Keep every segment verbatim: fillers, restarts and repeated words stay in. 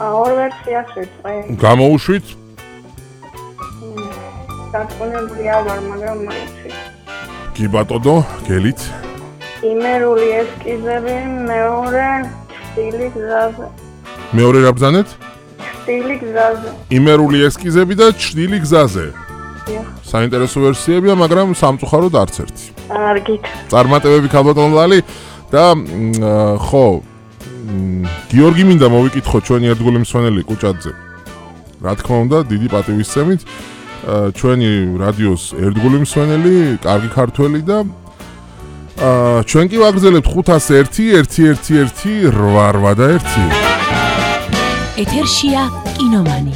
ორ ვერსიას ვიწყე. გამოუშვით? დარწმუნებულია ვარ, მაგრამ მაიცი. კი ბატონო, გელით? იმერული ესკიზები, მეორე სტილი გზაზე. მეორე რა ბრძანეთ? სტილი გზაზე. იმერული ესკიზები და ჩრდილი გზაზე. დიახ. საინტერესო ვერსიებია, მაგრამ სამწუხაროდ არც ერთი. კარგით. წარმატებები ქალბატონო ლალი და ხო გიორგი მინდა მოვიკითხო ჩვენი ერთგული მსვენელი კუჭაძე. რა თქმა უნდა, დიდი პატივისცემით ჩვენი რადიოს ერთგული მსვენელი, კარგი ქართველი და ჩვენ კი ვაგრძელებთ ხუთას ერთი ერთი ერთი ერთი რვა რვა და ერთი. ეთერშია კინომანი.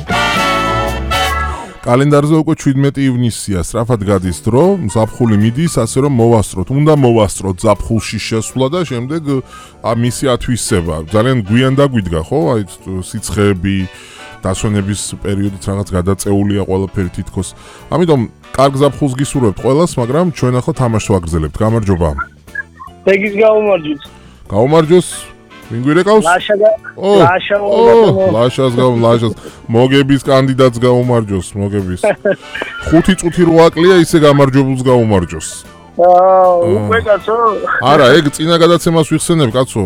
კალენდარზე უკვე შვიდმეტი ივნისია, სწრაფად გადის დრო, ზაფხული მიდის, ასე რომ მოვასწროთ. უნდა მოვასწროთ ზაფხულში შესვლა და შემდეგ მისი ათვისება. ძალიან გვიან დაგვიდგა, ხო? აი სიცხეები, დასვენების პერიოდიც რაღაც გადაწეულია ყველაფერი თითქოს. ამიტომ კარგ ზაფხულს გისურვებთ ყველას, მაგრამ ჩვენ ახლა თამაშს ვაგრძელებთ. გამარჯობა. ეგის გაუმარჯოს. გაუმარჯოს. ვინ გვირეკავს? ლაშა და ლაშა ლაშას გაუმ ლაშას მოგების კანდიდატს გაუმარჯოს მოგების ხუთი წუთი რვა კლია ისე გამარჯვებულს გაუმარჯოს აა უკვე კაცო არა ეგ წინა გადაცემას ვიხსენებ კაცო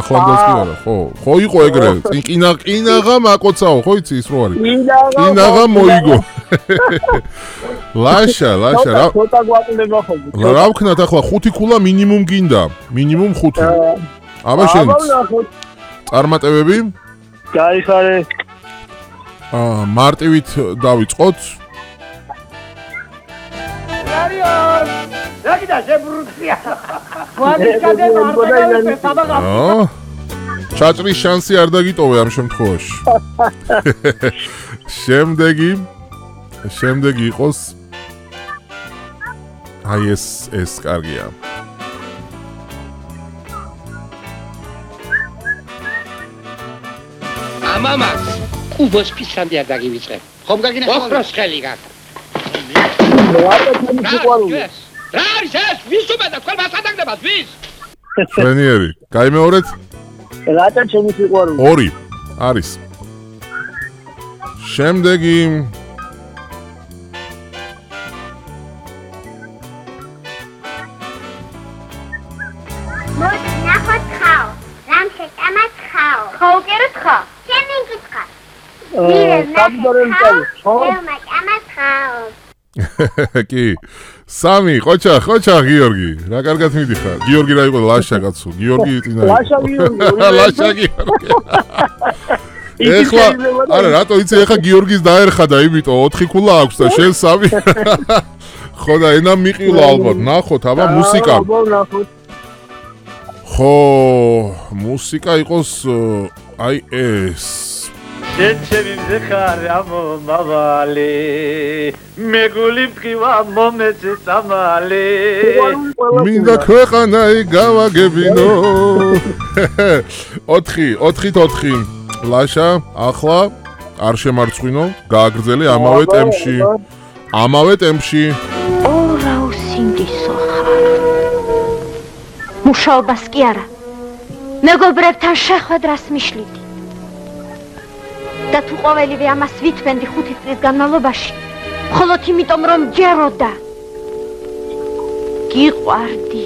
ახლანდელს კი არა ხო ხო იყო ეგრე ყინა ყინაღა მაკოცაო ხო იცი ის რო არის ყინაღა მოიგო ლაშა ლაშა რა ცოტა გვაკლდება ხოლმე რა ვქნათ ახლა ხუთი ქულა მინიმუმ გინდა მინიმუმ ხუთი აბა შენც წარმატებები? გაიხარე. აა მარტივით დავიწყოთ. არიონ! რაკიდა შებრუცია. ვადიკადე მარტივით საბაღა. აა ჩაჭრის შანსი არ დაგიტოვე ამ შემთხვევაში. შემდეგი შემდეგი იყოს აი ეს ეს კარგია. მამას უბოს ფისანდი არ დაგივიწყე. ხომ გაგინა ოხროს ხელი გაკ. რა არის ეს? ვის უმეტა თქვენ მასადაგდებას ვის? შვენიერი. გაიმეორეთ? რათა ჩემი სიყვარული. ორი არის. შემდეგი მოდი ნახოთ ხაო. რამე ამას ხაო. ხაო კერეთ ხა. კი სამი ყოჩა ყოჩა გიორგი რა კარგად მიდიხარ გიორგი რა იყო ლაშა კაცო გიორგი წინა ლაშა გიორგი ლაშა გიორგი ეხლა არა რატო იცი ეხლა გიორგის დაერხა და იმიტომ ოთხი ქულა აქვს და შენ სამი ხო და ენა მიყილა ალბათ ნახოთ აბა მუსიკა ხო მუსიკა იყოს აი ეს ჩემი მზეხარ ამო მავალი მეგული მყივა მომეცე სამალი მინდა ქვეყანაი გავაგებინო ოთხი ოთხით ოთხი ლაშა ახლა არ შემარცხვინო გააგრძელე ამავე ტემპში ამავე ტემპში ორა უსინდისო ხარ მუშაობას კი არა მეგობრებთან შეხვედრას მიშლიდი და თუ ყოველივე ამას ვითვენდი ხუთი წლის განმავლობაში, მხოლოდ იმიტომ რომ ჯეროდა. გიყვარდი.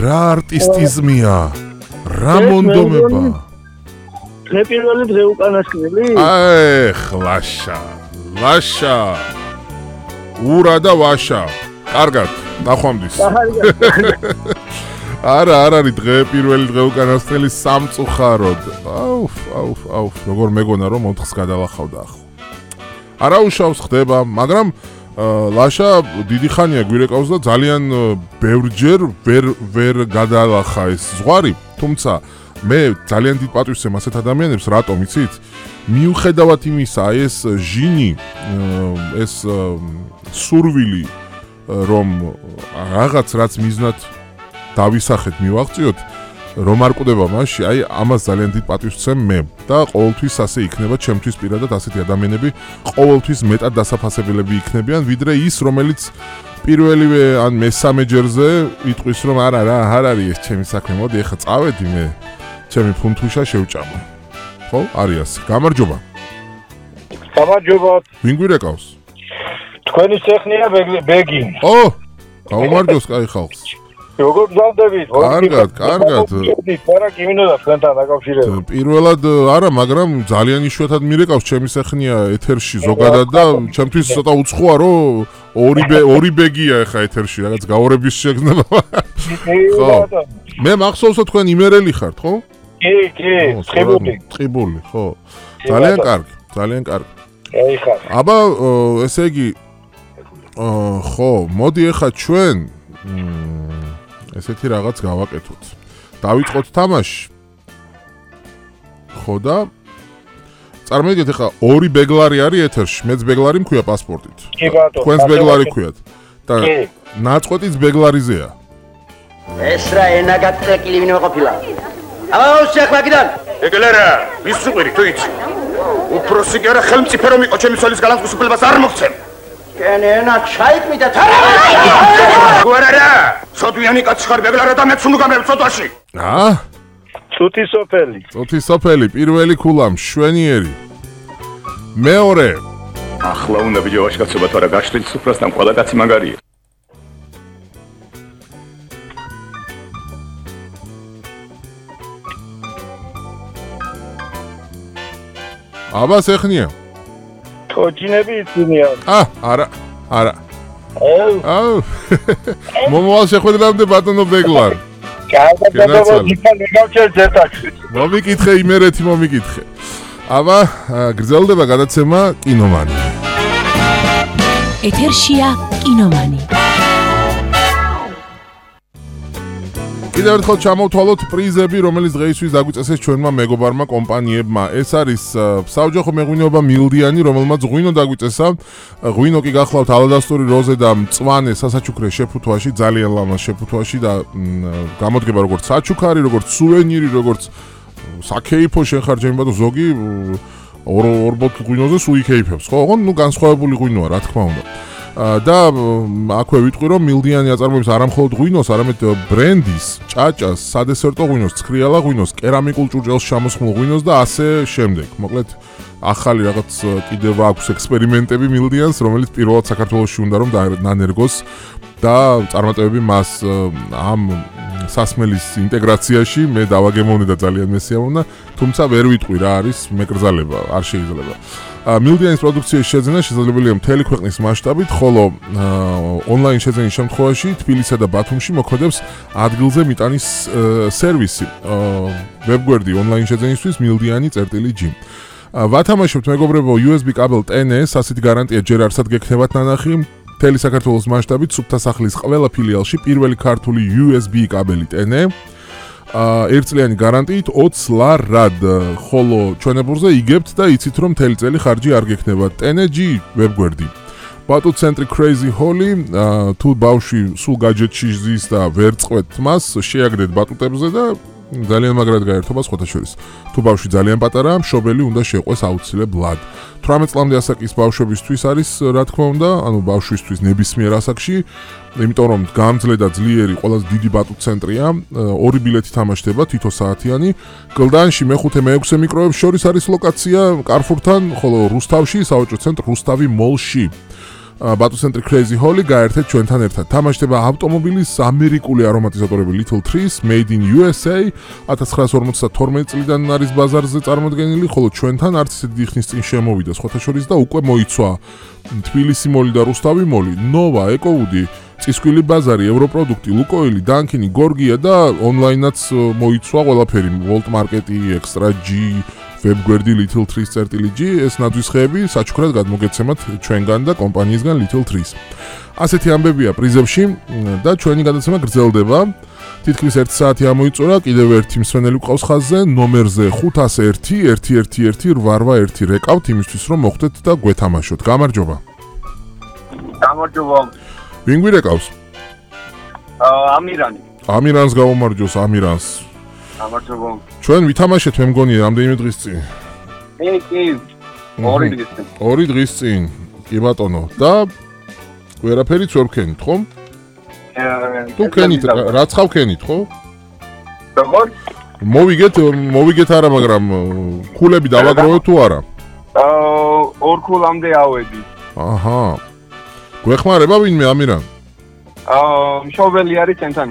რა არტისტიზმია? რა მონდომება? დღე პირველი დღე უკანასკნელი? აი, ლაშა. ლაშა. ურა და ვაშა. კარგად, ნახვამდის. არა, არ არის დღე პირველი დღე უკანასკნელი სამწუხაროდ. აუფ, აუფ, აუფ, როგორ მეგონა რომ ოთხს გადალახავდა ახლა. არა უშავს ხდება, მაგრამ ლაშა დიდი ხანია გვირეკავს და ძალიან ბევრჯერ ვერ ვერ გადალახა ეს ზღვარი, თუმცა მე ძალიან დიდ პატივს ვცემ ასეთ ადამიანებს, რატომ იცით? მიუხედავად იმისა, ეს ჟინი, ეს სურვილი რომ რაღაც რაც მიზნად დავისახეთ მივაღწიოთ რომ არ კვდება მასში აი ამას ძალიან დიდ პატივს ვცემ მე და ყოველთვის ასე იქნება ჩემთვის პირადად ასეთი ადამიანები ყოველთვის მეტად დასაფასებელები იქნებიან ვიდრე ის რომელიც პირველივე ან მესამე ჯერზე იტყვის რომ არა რა არ არის ეს ჩემი საქმე მოდი ეხლა წავედი მე ჩემი ფუნთუშა შევჭამო ხო? არის ასე. გამარჯობა. გამარჯობათ. ვინ გვირეკავს? თქვენი სეხნია ბეგი. ო! გაუმარჯოს კაი ხალხს. როგორ გზავდებით? კარგად, კარგად. არა, კი მინდოდა თქვენთან დაკავშირებით. პირველად არა, მაგრამ ძალიან იშვიათად მირეკავს ჩემი სეხნია ეთერში ზოგადად და ჩემთვის ცოტა უცხოა, რომ ორი ორი ბეგია ახლა ეთერში, რაღაც გაორების შეგრძნება. ხო. მე მახსოვსო თქვენ იმერელი ხართ, ხო? კი, კი, ცხიბული. ცხიბული, ხო. ძალიან კარგი, ძალიან კარგი. აი ხარ. აბა, ესე იგი ხო, მოდი ახლა ჩვენ ესეთი რაღაც გავაკეთოთ. დავიწყოთ თამაში. ხო და წარმოიდგინეთ ახლა ორი ბეგლარი არის ეთერში, მეც ბეგლარი მქვია პასპორტით. კი ბატონო. თქვენს ბეგლარი ქვიათ. და ნაწყვეტიც ბეგლარიზეა. ეს რა ენა გაწეკილი ვინმე ყოფილა. აბა შეხვაგიდან. ეგლერა, ვისუყვირი თუ იცი. უფროსი კი არა ხელმწიფე რომ იყო ჩემი ცოლის გალანტგუსუფლებას არ მოგცემ. კენ ენა ჩაიკმი და თარა. გუარარა, სოდვიანი კაცი ხარ ბეგლარა და მეც უნუგამებ სოდვაში. აა? წუთი სოფელი. წუთი სოფელი, პირველი ქულა მშვენიერი. მეორე. ახლა უნდა ვიჯოვაში კაცობა თუ არა გაშლილ სუფრასთან ყველა კაცი მაგარია. აბა სეხნია. თოჯინები იცინიან. აა, არა, არა. აუ. აუ. მომავალ შეხვედრამდე ბატონო ბეგლარ. კარგად დაბა დიფან მიგავჩერთ ერთად. მომიკითხე იმერეთი მომიკითხე. აბა, გრძელდება გადაცემა კინომანი. ეთერშია კინომანი. კიდევ ერთხელ ჩამოვთვალოთ პრიზები, რომელიც დღეისთვის დაგვიწესეს ჩვენმა მეგობარმა კომპანიებმა. ეს არის საოჯახო მეღვინეობა მილდიანი, რომელმაც ღვინო დაგვიწესა. ღვინო კი გახლავთ ალადასტური როზე და მწვანე სასაჩუქრე შეფუთვაში, ძალიან ლამაზ შეფუთვაში და გამოდგება როგორც საჩუქარი, როგორც სუვენირი, როგორც საკეიფო შენ ხარ ჩემი ბატონო ზოგი ორ ორ ბოთლ ღვინოზე სულ იკეიფებს, ხო? ოღონდ ნუ განსხვავებული ღვინოა, რა თქმა უნდა. და აქვე ვიტყვი რომ მილდიანი აწარმოებს არამხოლოდ ღვინოს, არამედ ბრენდის, ჭაჭას, სადესერტო ღვინოს, ცხრიალა ღვინოს, კერამიკულ ჭურჭელს ჩამოსხმულ ღვინოს და ასე შემდეგ. მოკლედ ახალი რაღაც კიდევ აქვს ექსპერიმენტები მილდიანს, რომელიც პირველად საქართველოში უნდა რომ დანერგოს და წარმატებები მას ამ სასმელის ინტეგრაციაში მე დავაგემოვნე და ძალიან მესიამოვნა, თუმცა ვერ ვიტყვი რა არის მეკრძალება, არ შეიძლება. მილდიანის პროდუქციის შეძენა შესაძლებელია მთელი ქვეყნის მასშტაბით, ხოლო ონლაინ შეძენის შემთხვევაში თბილისსა და ბათუმში მოქმედებს ადგილზე მიტანის სერვისი. ვებგვერდი ონლაინ შეძენისთვის მილდიანი წერტილი ჯი. ვათამაშებთ მეგობრებო იუ ეს ბი კაბელ ტენ ეს, ასეთი გარანტია ჯერ არსად გექნებათ ნანახი. მთელი საქართველოს მასშტაბით სუფთა სახლის ყველა ფილიალში პირველი ქართული იუ ეს ბი კაბელი ტენ ე. ერთწლიანი გარანტიით ოცს ლარად, ხოლო ჩვენებურზე იგებთ და იცით რომ მთელი წელი ხარჯი არ გექნება. ტენ ე ჯი ვებგვერდი. ბატუ ცენტრი Crazy Holly, თუ ბავშვი სულ გაჯეტში ზის და ვერ წყვეთ მას, შეაგდეთ ბატუტებზე და ძალიან მაგრად გაერთობა სხვათა შორის. თუ ბავშვი ძალიან პატარაა, მშობელი უნდა შეყვეს აუცილებლად. თვრამეტ წლამდე ასაკის ბავშვებისთვის არის, რა თქმა უნდა, ანუ ბავშვისთვის ნებისმიერ ასაკში, იმიტომ რომ გამძლე და ძლიერი ყველაზე დიდი ბატუ ცენტრია, ორი ბილეთი თამაშდება, თითო საათიანი. გლდანში მეხუთე მეექვსე მიკროებს შორის არის ლოკაცია კარფურთან, ხოლო რუსთავში სავაჭრო ცენტრ რუსთავი მოლში. ბატუ ცენტრი Crazy Holly გაერთეთ ჩვენთან ერთად. თამაშდება ავტომობილის ამერიკული არომატიზატორები Little Trees Made in იუ ეს έი ათას ცხრაასი ორმოცდათორმეტი წლიდან არის ბაზარზე წარმოდგენილი, ხოლო ჩვენთან არც ისეთი დიდი ხნის წინ შემოვიდა სხვათა შორის და უკვე მოიცვა თბილისი მოლი და რუსთავი მოლი, ნოვა, ეკოუდი, წისქვილი ბაზარი, ევროპროდუქტი, ლუკოილი, დანკინი, გორგია და ონლაინაც მოიცვა ყველაფერი, ვოლტ მარკეტი, ექსტრა ჯი, ვებგვერდი Little Trees წერტილი ჯი, ეს ნაძვის ხეები საჩუქრად გადმოგეცემათ ჩვენგან და კომპანიისგან Little Trees. ასეთი ამბებია პრიზებში და ჩვენი გადაცემა გრძელდება. თითქმის ერთი საათი ამოიწურა, კიდევ ერთი მსვენელი გვყავს ხაზზე, ნომერზე ხუთას ერთი ერთი ერთი ერთი რვა ერთი რეკავთ იმისთვის რომ მოხვდეთ და გვეთამაშოთ. გამარჯობა. გამარჯობა. ვინ გვირეკავს? ამირანი. ამირანს გაუმარჯოს, ამირანს. გამარჯობა. ჩვენ ვითამაშეთ მე მგონი რამდენიმე დღის წინ. კი, კი. ორი დღის წინ. ორი დღის წინ. კი ბატონო. და ვერაფერიც ვერ ვქენით, ხო? აა თუ ქენით, რაც ხავ ქენით, ხო? როგორ? მოვიგეთ, მოვიგეთ არა, მაგრამ ქულები დავაგროვეთ თუ არა? აა ორ ქულამდე ავედი. აჰა. გვეხმარება ვინმე ამირან? აა მშობელი არის ჩვენთან.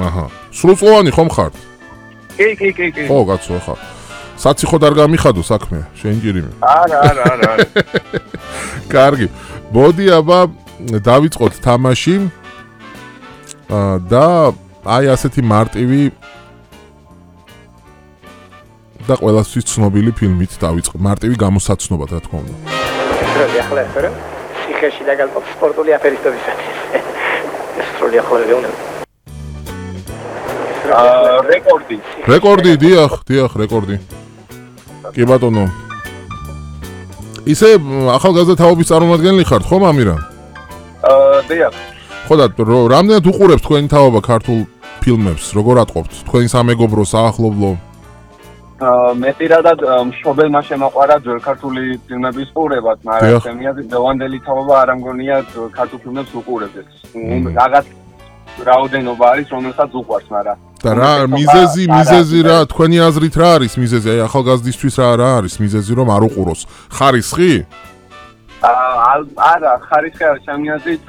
აჰა. სრულწლოვანი ხომ ხართ? კი, კი, კი, კი. ხო, კაცო, ხა. საციხო არ გამიხადო საქმე, შენ ჯირიმე. არა, არა, არა, არა. კარგი. მოდი აბა დავიწყოთ თამაში. აა და აი ასეთი მარტივი და ყველასთვის ცნობილი ფილმით დავიწყო. მარტივი გამოსაცნობად, რა თქმა უნდა. სრული ახლა ფერა. სიხეში დაგალპო სპორტული აფერისტობისათვის. სრული ახლა ვეუნე. აა რეკორდი. რეკორდი, დიახ, დიახ, რეკორდი. კი ბატონო. ისე ახალგაზრდა თაობის წარმომადგენელი ხართ, ხომ ამირან? აა დიახ. ხო და რამდენად უყურებთ თქვენი თაობა ქართულ ფილმებს? როგორ ატყობთ? თქვენი სამეგობრო, საახლობლო? აა მეტირადად მშობელმა შემოყვარა ძველ ქართული ფილმების ყურებაც, მაგრამ შემია დევანდელი თაობა არ ამგონია ქართულ ფილმებს უყურებს. რაღაც რაოდენობა არის, რომელსაც უყვარს, მაგრამ და რა მიზეზი, მიზეზი რა, თქვენი აზრით რა არის მიზეზი? აი ახალგაზრდისთვის რა რა არის მიზეზი, რომ არ უყუროს? ხარისხი? აა არა, ხარისხი არ შემიაზრით